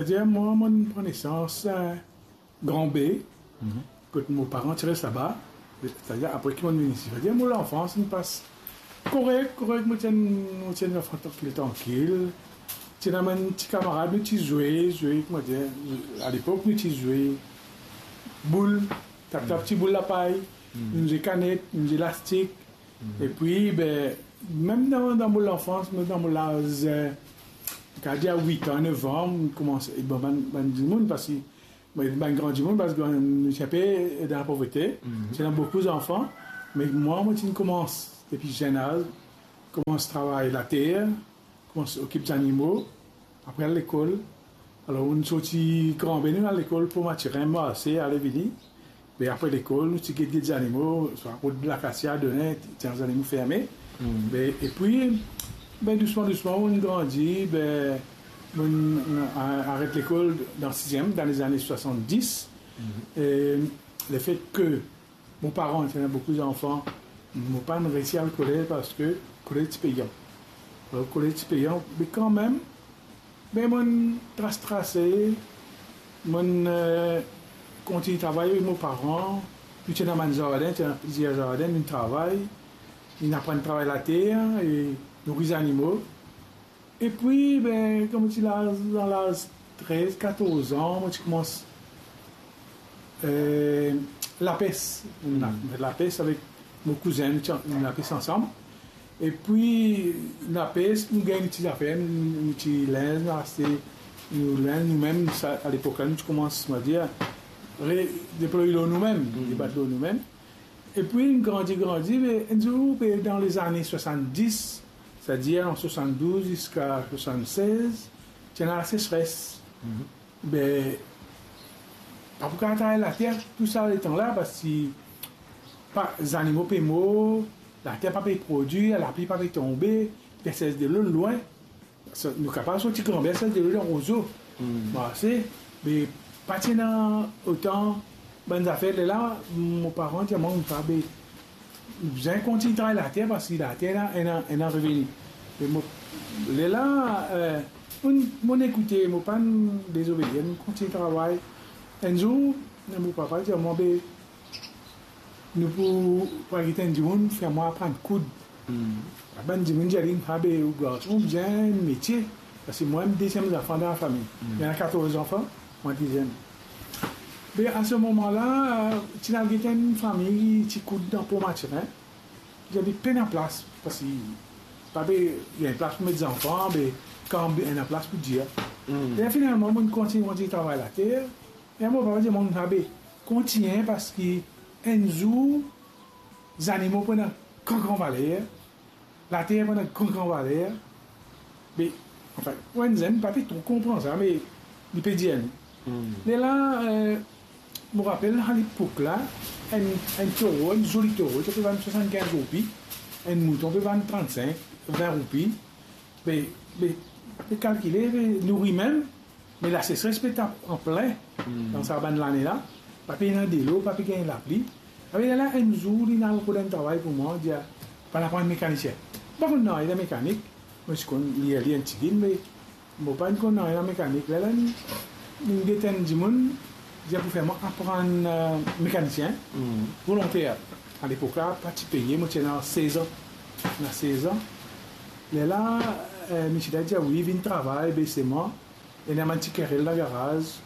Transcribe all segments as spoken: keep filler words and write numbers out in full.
Savedir, mwa, mo pran nesans, eh, Grand Baie, kot mo paran ti res laba, setadir apre ki mo vinn isi. Savedir, mo lanfans inn pas korek, korek, mo ti enn, mo ti enn zanfan trankil, trankil. Ti ena bann ti kamarad, nou ti zwe, zwe, kouma dir, alepok, nou ti zwe boul, tap, tap, ti boul lapay, nou zwe kanet, nou zwe lastik. Epi, be, mem dan, dan mo lanfans, mem dan mo laz, eh, kapav dir wit an, nef an, mo koumans, e, bon, bann, bann dimoun, parski, mo, bann gran dimoun, parski nou ti enpe dan lapovrete, ti ena boukou zanfan, me mwa, mo ti koumans, depi zenn az, koumans travay later, koumans okip zanimo, apre al lekol. Alor, nou sorti Grand Baie, nou al lekol Port Mathurin, marse, ale vini. Me apre lekol, nou ti get, get zanimo, swa kot lakasia, donnen, ti ena zanimo ferme. Me, epi, be, dousman, dousman, nou grandi, be, nou, nou a-, aret lekol dan siziem, dan lezane swasanndis. E, lefet ke mo paran ti ena boukou zanfan, mo pa'nn resi al kolez parski kolez ti peyan. Alor, kolez ti peyan, me kanmem, be, mo'nn tras, trase, mo'nn, eh, kontign travay avek mo paran. Nou ti ena bann zardin, ti ena plizier zardin, nou travay, nou aprann travay later e nouri zanimo. Epi, be, kan mo ti laz, dan laz trez, katorz an, mo ti koumans, eh, lapes. Nou ti fer lapes avek mo kouzin, nou ti, nou lapes ansam. Epi, lapes, nou gagn nou ti zafer, nou, nou ti linz, nou aste nou linz, noumem, sa, alepok la, nou ti koumans, on va dire, re-, deploy lor noumem, debat lor noumem. Epi, nou grandi, grandi, me enn zour, be, dan lezane swasanndis, setadir an swasanndouz ziska swasannsez, ti ena lasesres. Be, pa pou kapav travay later tou sa letan la, parski pa, zanimo pe mor, later pa pe prodwir, lapli pa pe tonbe, pe sers delo lwin. Sa, nou kapav sorti Grand Baie, sers delo dan Rozo. Marse, me pa ti ena otan bann zafer. Lerla, mo paran dir mwa, mo pa be, nou bizin kontign travay later, parski later ena, ena, ena reveni. Me mo, lerla, eh, mo, mo ekoute, mo pa'nn dezobedir, mo kontign travay. Enn zour, mo papa dir mwa, be, nou pou, pou al get enn dimoun fer mwa aprann koud. Bann dimoun dir li, "Ah be, ou garson, ou bizin enn metie." Parski mwa, mo deziem zanfan dan lafami. Ena katorz zanfan, mwa deziem. Be, a se moman la, ti al get enn fami ti koud dan Port Mathurin. Li dir, "Be, pena plas, parski pa pe gagn plas pou met zanfan, be, kan ena plas pou dir." E finalman, mo kontign, kontign travay later. E mo papa dir mwa, "Abe, kontign, parski enn zour, zanimo pou ena gran, gran valer, later pou ena gran, gran valer." Me, anfin, pou enn zenn, pa pe tro konpran sa, me li pe dir nou. Lerla, eh, mo rapel, alepok la, enn, enn toro, enn zoli toro, ti pe vann swasann-kinz roupi, enn mouton pe vann trannsink, vin roupi. Be, be, be kalkile, be nouri mem, me lasesres pe tap anplin dan sa bann lane la, pa pe ena delo, pa pe gagn lapli. Abe, lerla, enn zour, li inn al rod enn travay pou mwa, dir, "Al aprann mekanisien." Mo pa konn nanye dan mekanik, mo ti konn lir, lir enn tigit, me mo pa konn nanye dan mekanik. Lerla, li, li get enn dimoun, dir pou fer mwa aprann, eh, mekanisien, volonter. Alepok la, pa ti peye, mo ti ena sez an. Ena sez an. Lerla, eh, misie la dir, "Wi, vinn travay, be selman ena bann ti kerel dan garaz,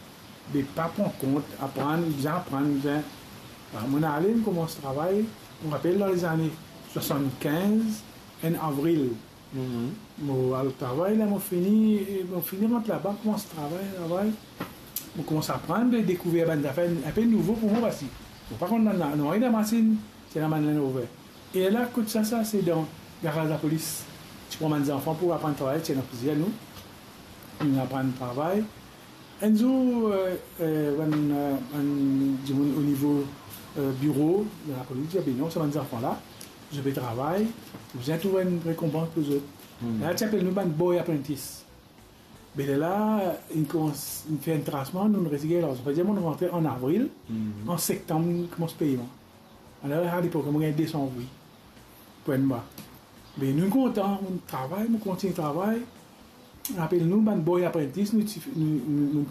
be pa pran kont, aprann, bizin aprann, bizin." Alor, mo ale, mo koumans travay, mo rapel dan lezane swasann-kinz, enn avril. Mo al travay la, mo fini, mo fini rant laba, koumans travay, travay. Mo koumans aprann, be dekouver bann zafer inpe nouvo pou mwa, parski mo pa konn nanye dan masinn, ti ena bann Land Rover. E la, kot sa, sa se dan garaz lapolis. Ti pran bann zanfan pou aprann travay, ti ena plizier nou. Nou aprann travay. Enn zour, eh, eh, bann, eh, bann dimoun o nivo, eh, biro de lapolis dir, "Be non, sa bann zanfan la, zot pe travay, nou bizin trouv enn rekonpans pou zot." La, ti apel nou bann boy apprentice. Be lerla, inn koumans, inn fer enn trasman, nou, nou resi gagn larzan. Savedir, mo rantre an avril, an septanm, inn koumans peye mwa. Alor, alepok la, mo gagn de san roupi pou enn mwa. Me nou kontan, nou travay, nou kontign travay. Apel nou bann boy apprentice, nou ti, nou, nou, nou